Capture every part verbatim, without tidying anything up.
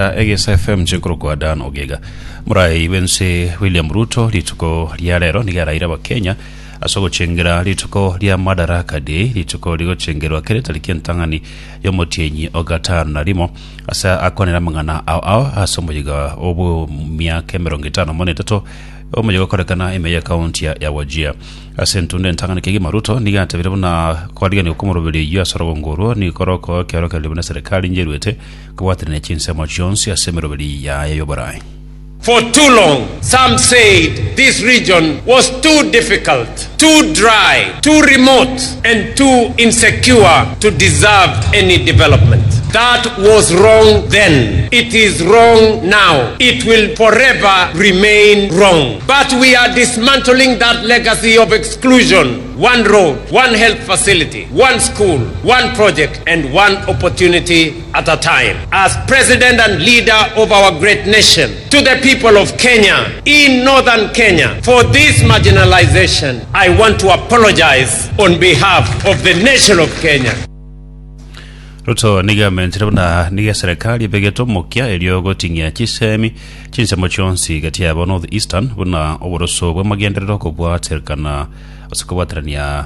Egesa F M nkorokwa Dan Ogega. Morai bwense William Ruto rituko ria rero nigo araire Abakenya ase ogochengera rituko ria Madaraka Day, rituko rigochengerwa kere tariki entang'ani y'omotienyi o gatano na rimo, ase akwanera amang'ana ao ao ase omoyiga obwo miaka emerongo etano mono etato omoyiga okorekana ime ya ekaunti ya Wajir. Ase entunda entang'ani kegima, Ruto nigo atebire buna kwarigania okomoroberio eyio ase orogongo orwo nigo koroko ekeorokererio buna serikali njeruete kobwaterania chinsemo chionsi ase emeroberi yaye y'oborai. For too long, some said this region was too difficult, too dry, too remote, and too insecure to deserve any development. That was wrong then. It is wrong now. It will forever remain wrong. But we are dismantling that legacy of exclusion. One road, one health facility, one school, one project, and one opportunity at a time. As president and leader of our great nation, to the people of Kenya, in northern Kenya, for this marginalization, I want to apologize on behalf of the nation of Kenya. Ruto nigo amentire buna nigo eserikali ebegete omokia erio goting'ia chisemi chinsemo chionsi gati yabo North Eastern buna oboroso bw'amagenderero kobwaterkana ase kobwaterania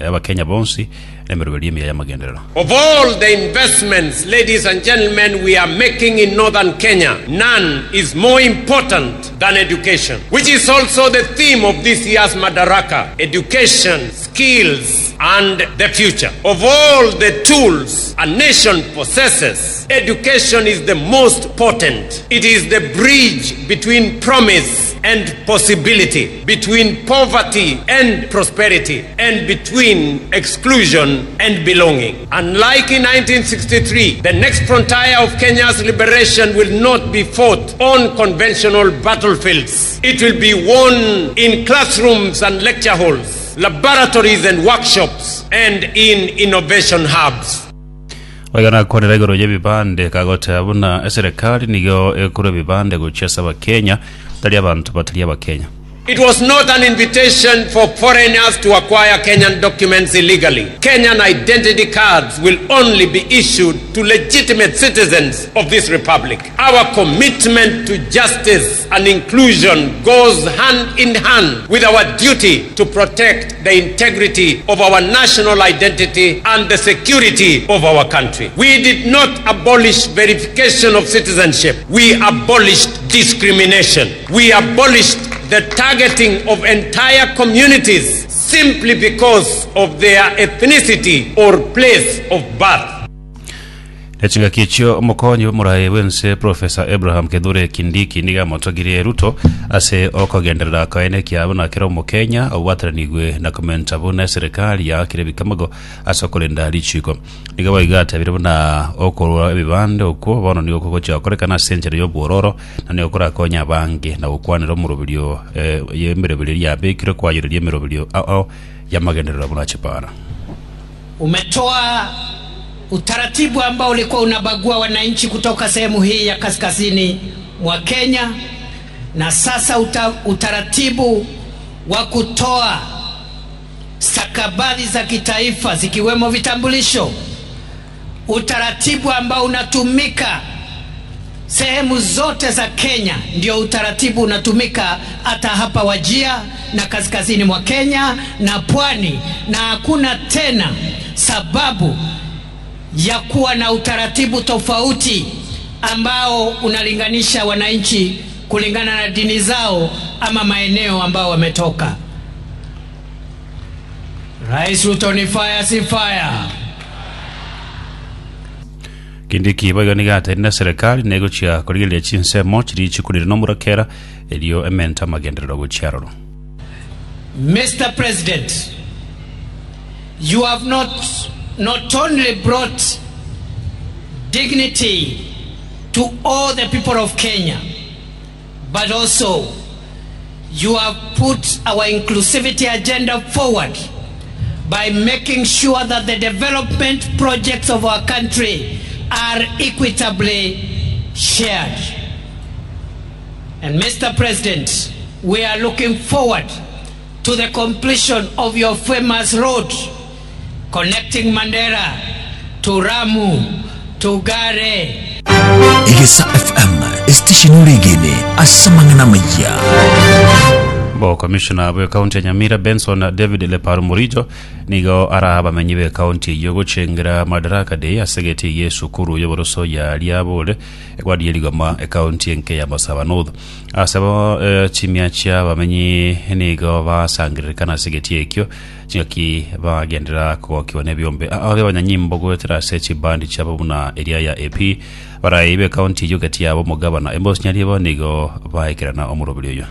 Abakenya bonsi n'emeroberi emiya y'amagenderero. Of all the investments, ladies and gentlemen, we are making in northern Kenya, none is more important than education, which is also the theme of this year's Madaraka: education, skills, and the future. Of all the tools a nation possesses, education is the most potent. It is the bridge between promise and possibility, between poverty and prosperity, and between exclusion and belonging. Unlike in nineteen sixty-three, the next frontier of Kenya's liberation will not be fought on conventional battlefields. It will be won in classrooms and lecture halls, laboratories and workshops, and in innovation hubs. Oigana kwanera igoro y'ebibande kagoteba buna eserikali nigo ekorwa ebibande gochia ase Abakenya tari abanto batari Abakenya. It was not an invitation for foreigners to acquire Kenyan documents illegally. Kenyan identity cards will only be issued to legitimate citizens of this republic. Our commitment to justice and inclusion goes hand in hand with our duty to protect the integrity of our national identity and the security of our country. We did not abolish verification of citizenship. We abolished discrimination. We abolished the targeting of entire communities simply because of their ethnicity or place of birth. Echingaki echio omokonyi bw'omorai bwense Professor Abraham Kithure Kindiki nigo amotogirie Ruto ase okogenderera kaene kiabo na kera Omokenya obwateranigwe na komenta buna eserikali yaakire ebikamago ase okorenda richiko. Nigo boigo atebire buna okorwa ebibande okwo bono nigo kogochia gokorekana ase enchera y'obwororo na nigo korakonya abange na gokwanera omoroberio eh, y'emeroberio yabekire kwayereria emeroberio ao ao y'amagenderero buna chipara. Umetoa utaratibu ambao ulikuwa unabagua wananchi kutoka sehemu hii ya kaskazini mwa Kenya, na sasa uta, utaratibu wa kutoa stakabadhi za kitaifa zikiwemo vitambulisho, utaratibu ambao unatumika sehemu zote za Kenya, ndio utaratibu unatumika hata hapa Wajir na kaskazini mwa Kenya na pwani, na hakuna tena sababu ya kuwa na utaratibu tofauti ambao unalinganisha wananchi kulingana na dini zao ama maeneo ambao wametoka. Rais Ruto ni fire, si fire? Kindiki boigo nigo ateire na serikali negochia korigereria chinsemo chiri chikurire nomorakera erio ementa amagenderero gochia aroro. Mister President, you have not, not only brought dignity to all the people of Kenya, but also you have put our inclusivity agenda forward by making sure that the development projects of our country are equitably shared. And Mister President, we are looking forward to the completion of your famous road connecting Mandera to Rhamu to Gare. Egesa F M estation oregene ase amang'ana maya. Bo commissioner bwe county ya Nyamira Benson David Lepar Murijo nigo ara abamenyi be county eyo gochengera Madaraka Day ase geti ye sukuru y'oboroso ya Riabore egwadi rigoma ecounty enke ya Masaba North. Asabo eh, chimia chia abamenyi nigo basangererekana ase geti ekio chingaki bagendera kogokiwa n'ebiombe abe abanyanyimbo goetera ase chibandi chiabo buna eria ya A P barai be county eyo gati yabo omogabana Emos Nyaribo nigo baekerana omoroberi oyo.